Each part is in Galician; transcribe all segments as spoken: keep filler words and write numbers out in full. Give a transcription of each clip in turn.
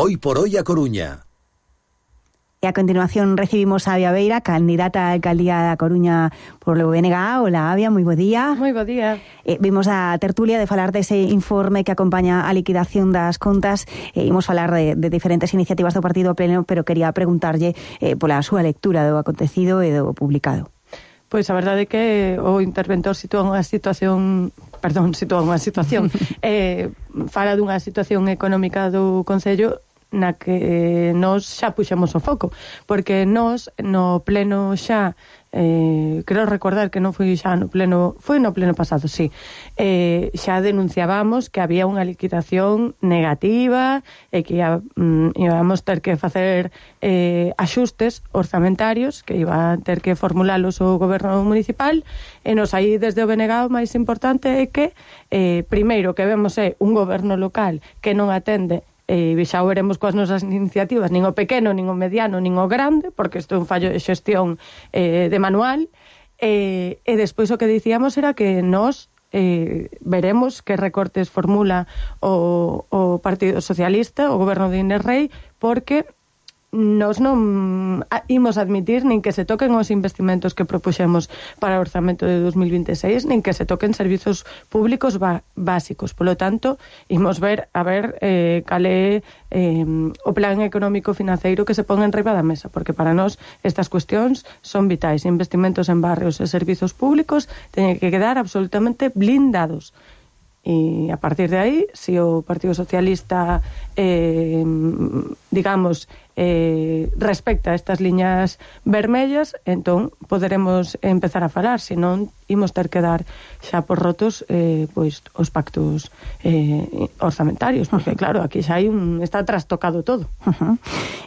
Hoy por hoy a Coruña. E a continuación recibimos a Avia Beira, candidata a alcaldía da Coruña por o B N G. Hola, Avia, moi bo día. Moi bo día. Eh, vimos a tertulia de falar dese informe que acompaña a liquidación das contas. Eh, imos falar de, de diferentes iniciativas do Partido Pleno, pero quería preguntarlle eh, pola súa lectura do acontecido e do publicado. Pois a verdade é que o interventor sitúa unha situación, perdón, sitúa unha situación, eh, fala dunha situación económica do Concello na que nós xa puxemos o foco, porque nós no pleno xa, eh, quero recordar que non foi xa no pleno, foi no pleno pasado, sí, eh, xa denunciábamos que había unha liquidación negativa e que ia, mm, íbamos ter que facer eh, axustes orzamentarios que iba a ter que formulalos o goberno municipal, e nos aí desde o B N G o máis importante é que eh, primeiro que vemos é un goberno local que non atende, e xa o veremos coas nosas iniciativas, nin o pequeno, nin o mediano, nin o grande, porque isto é un fallo de xestión eh, de manual, e, e despois o que dicíamos era que nós eh, veremos que recortes formula o, o Partido Socialista, o goberno de Inés Rei, porque nós non imos admitir nin que se toquen os investimentos que propuxemos para o orzamento de dos mil vinte e seis, nin que se toquen servizos públicos básicos. Polo tanto, imos ver a ver eh, cal é eh, o plan económico financeiro que se pon en riba da mesa, porque para nós estas cuestións son vitais. Investimentos en barrios e servizos públicos teñen que quedar absolutamente blindados. E a partir de aí, se o Partido Socialista eh, digamos eh, respecta estas liñas vermellas, entón poderemos empezar a falar, senón imos ter que dar xa por rotos eh, pois os pactos eh, orzamentarios, porque claro, aquí xa hai un, está trastocado todo. Uh-huh.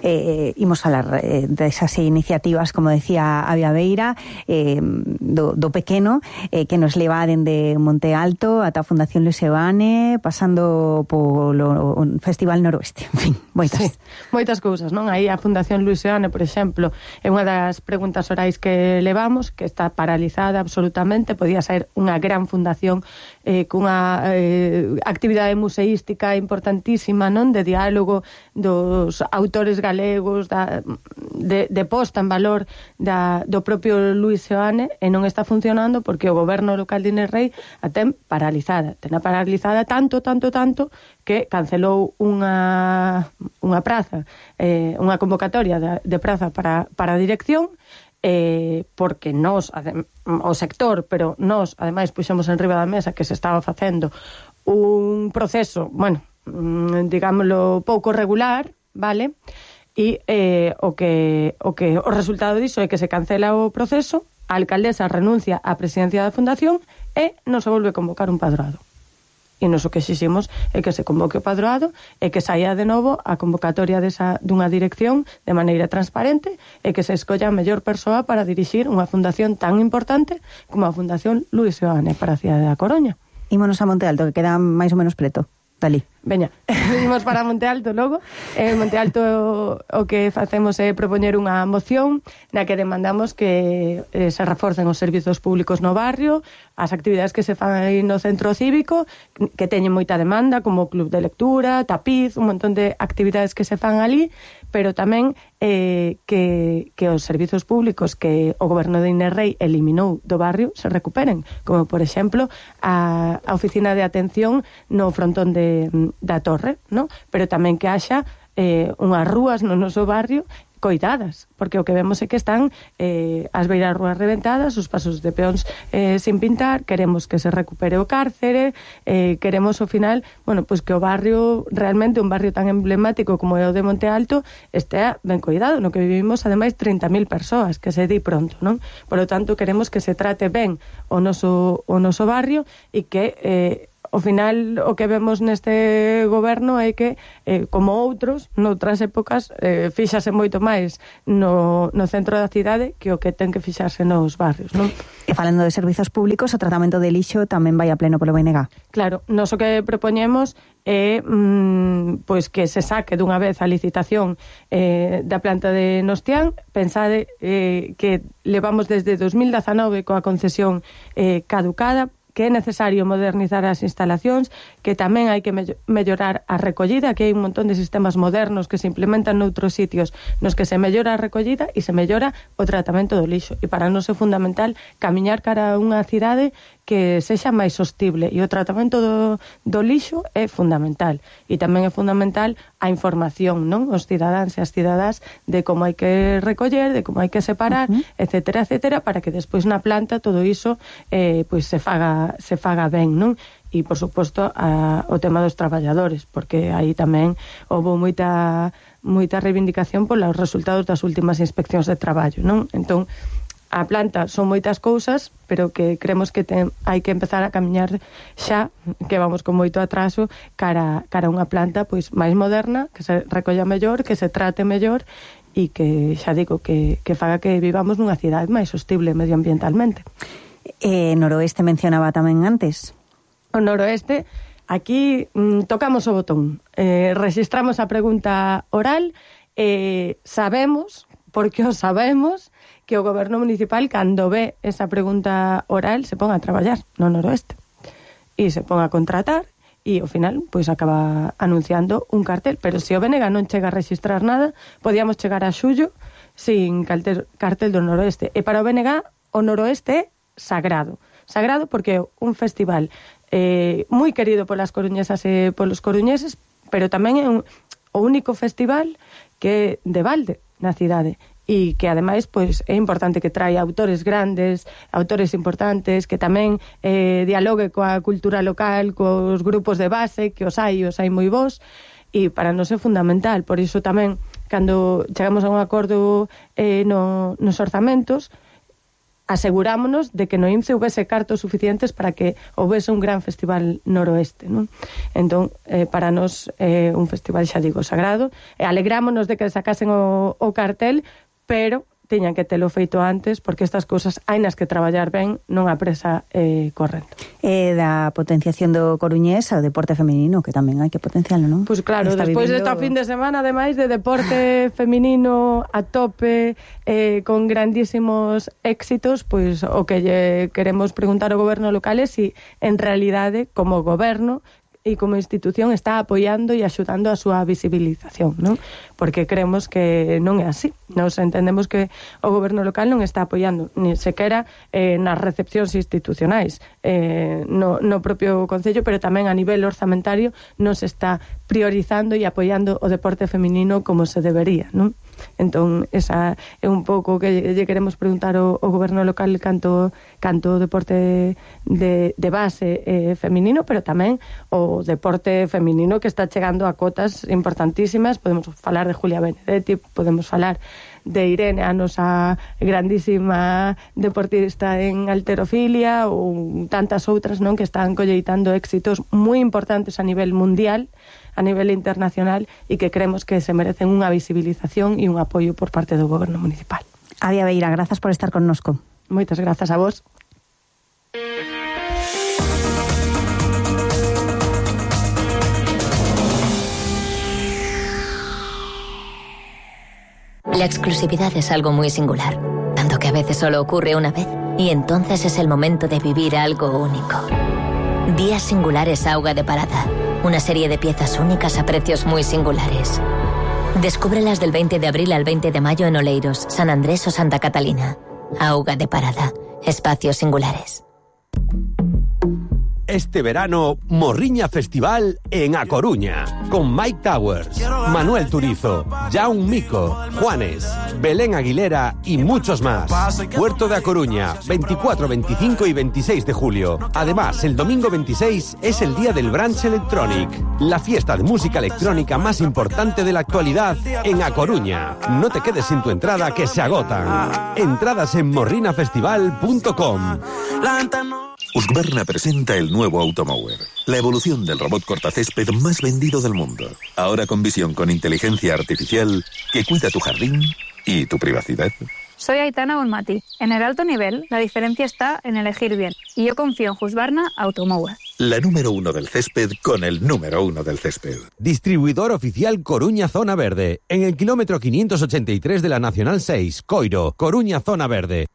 eh, imos falar eh, desas iniciativas, como decía Avia Beira, eh, do, do pequeno, eh, que nos leva dende Monte Alto ata a Fundación Luis Seoane, pasando polo Festival Noroeste, en fin, moitas. Sí, moitas cousas, non? Aí a Fundación Luis Seoane, por exemplo, é unha das preguntas orais que levamos, que está paralizada absolutamente, podía ser unha gran fundación eh, cunha eh, actividade museística importantísima, non? De diálogo dos autores galegos, da, de, de posta en valor da, do propio Luis Seoane, e non está funcionando porque o goberno local de Inés Rei a ten paralizada. Ten a paralizada tanto, tanto, tanto que cancelou unha, unha praza, eh, unha convocatoria de, de praza para, para a dirección, eh, porque nós, o sector, pero nós, ademais, puxemos en riba da mesa que se estaba facendo un proceso, bueno, digámoslo, pouco regular, vale? E eh, o que o que o resultado diso é que se cancela o proceso, a alcaldesa renuncia á presidencia da fundación e non se volve a convocar un padroado. E nos o que exiximos é que se convoque o padroado e que saia de novo a convocatoria desa, dunha dirección de maneira transparente e que se escolla a mellor persoa para dirixir unha fundación tan importante como a Fundación Luis Seoane para a cidade da Coruña. Ímonos a Monte Alto, que queda máis ou menos preto. Dali. Veña, imos para Monte Alto logo. En Monte Alto o, o que facemos é propoñer unha moción na que demandamos que eh, se reforcen os servizos públicos no barrio, as actividades que se fan aí no centro cívico, que teñen moita demanda, como club de lectura, tapiz, un montón de actividades que se fan ali, pero tamén eh, que, que os servizos públicos que o goberno de Inés Rei eliminou do barrio se recuperen, como por exemplo a, a oficina de atención no frontón de da Torre, ¿no? Pero tamén que haxa eh, unhas rúas no noso barrio coidadas, porque o que vemos é que están eh, as beiras rúas reventadas, os pasos de peóns eh, sin pintar, queremos que se recupere o cárcere, eh, queremos ao final, bueno, pois pues que o barrio, realmente un barrio tan emblemático como é o de Monte Alto, estea ben coidado, no que vivimos ademais trinta mil persoas, que se di pronto, non? Por lo tanto, queremos que se trate ben o noso, o noso barrio e que eh, ao final o que vemos neste goberno é que, eh, como outros, noutras épocas, eh, fíxase moito máis no, no centro da cidade que o que ten que fixarse nos barrios, non? E falando de servizos públicos, o tratamento de lixo tamén vai a pleno polo B N G. Claro, nos o que propoñemos é mmm, pois que se saque dunha vez a licitación eh, da planta de Nostián. Pensade eh, que levamos desde dos mil dezanove coa concesión eh, caducada. que é necesario modernizar as instalacións, que tamén hai que me- mellorar a recollida, que hai un montón de sistemas modernos que se implementan noutros sitios nos que se mellora a recollida e se mellora o tratamento do lixo. E para nós é fundamental camiñar cara a unha cidade que sexa máis sostible, e o tratamento do, do lixo é fundamental. E tamén é fundamental a información, non? Os cidadáns e as cidadás de como hai que recoller, de como hai que separar, uh-huh. etcétera, etcétera, para que despois na planta todo iso eh, pois se faga, se faga ben, non? E, por suposto, a, o tema dos traballadores, porque aí tamén houve moita, moita reivindicación polos resultados das últimas inspeccións de traballo, non? Entón, a planta son moitas cousas, pero que creemos que ten, hai que empezar a camiñar xa, que vamos con moito atraso, cara, cara a unha planta pois máis moderna, que se recolla mellor, que se trate mellor, e que, xa digo, que, que faga que vivamos nunha cidade máis sostible medioambientalmente. Eh, Noroeste mencionaba tamén antes. O Noroeste, aquí mm, tocamos o botón, eh, registramos a pregunta oral, eh, sabemos, porque o sabemos, que o goberno municipal, cando ve esa pregunta oral, se pon a traballar no Noroeste. E se pon a contratar, e ao final, pois acaba anunciando un cartel. Pero se o B N G non chega a registrar nada, podíamos chegar a xullo sin cartel, cartel do Noroeste. E para o B N G, o Noroeste é sagrado. Sagrado porque é un festival eh, moi querido polas coruñesas e polos coruñeses, pero tamén é un, o único festival que é de balde na cidade, e que ademais pois é importante que traia autores grandes, autores importantes, que tamén eh, dialogue coa cultura local, cos grupos de base, que os hai, os hai moi bons, e para nós é fundamental. Por iso tamén, cando chegamos a un acordo eh, no, nos orzamentos, asegurámonos de que no I M S S houvese cartos suficientes para que houvese un gran festival Noroeste, non? Entón, eh, para nós é eh, un festival, xa digo, sagrado, e alegrámonos de que sacasen o, o cartel, pero tiñan que telo feito antes, porque estas cousas hai nas que traballar ben, non a presa eh, correndo. E da potenciación do coruñés ao deporte feminino, que tamén hai que potenciarlo, non? Pois pues claro, está despois vivindo... desta fin de semana, ademais de deporte feminino a tope, eh, con grandísimos éxitos, pois pues, o que lle queremos preguntar ao goberno local é si, en realidade, como goberno e como institución está apoiando e axudando a súa visibilización, non? Porque creemos que non é así. Nos entendemos que o goberno local non está apoiando ni sequera eh, nas recepcións institucionais, eh, no, no propio concello, pero tamén a nivel orzamentario non se está priorizando e apoiando o deporte feminino como se debería, non? Entón, esa é un pouco que lle queremos preguntar ao, ao goberno local canto, canto o deporte de, de base eh, feminino, pero tamén o deporte feminino que está chegando a cotas importantísimas. Podemos falar de Julia Benedetti, podemos falar de Irene, a nosa grandísima deportista en halterofilia, ou tantas outras, non, que están colleitando éxitos moi importantes a nivel mundial, a nivel internacional, e que creemos que se merecen unha visibilización e un apoio por parte do goberno municipal. Avia Beira, grazas por estar connosco. Moitas grazas a vos. La exclusividad es algo muy singular, tanto que a veces solo ocurre una vez, y entonces es el momento de vivir algo único. Días Singulares Auga de Parada, una serie de piezas únicas a precios muy singulares. Descúbrelas del veinte de abril al veinte de mayo en Oleiros, San Andrés o Santa Catalina. Auga de Parada, espacios singulares. Este verano, Morriña Festival en A Coruña, con Mike Towers, Manuel Turizo, Jaume Mico, Juanes, Belén Aguilera y muchos más. Puerto de A Coruña, veinticuatro, veinticinco y veintiséis de julio. Además, el domingo veintiséis es el día del Brunch Electronic, la fiesta de música electrónica más importante de la actualidad en A Coruña. No te quedes sin tu entrada, que se agotan. Entradas en morrina festival punto com. Husqvarna presenta el nuevo Automower, la evolución del robot cortacésped más vendido del mundo. Ahora con visión con inteligencia artificial que cuida tu jardín y tu privacidad. Soy Aitana Bonmati. En el alto nivel, la diferencia está en elegir bien. Y yo confío en Husqvarna Automower. La número uno del césped con el número uno del césped. Distribuidor oficial Coruña Zona Verde. En el kilómetro quinientos ochenta y tres de la Nacional seis, Coiro, Coruña Zona Verde.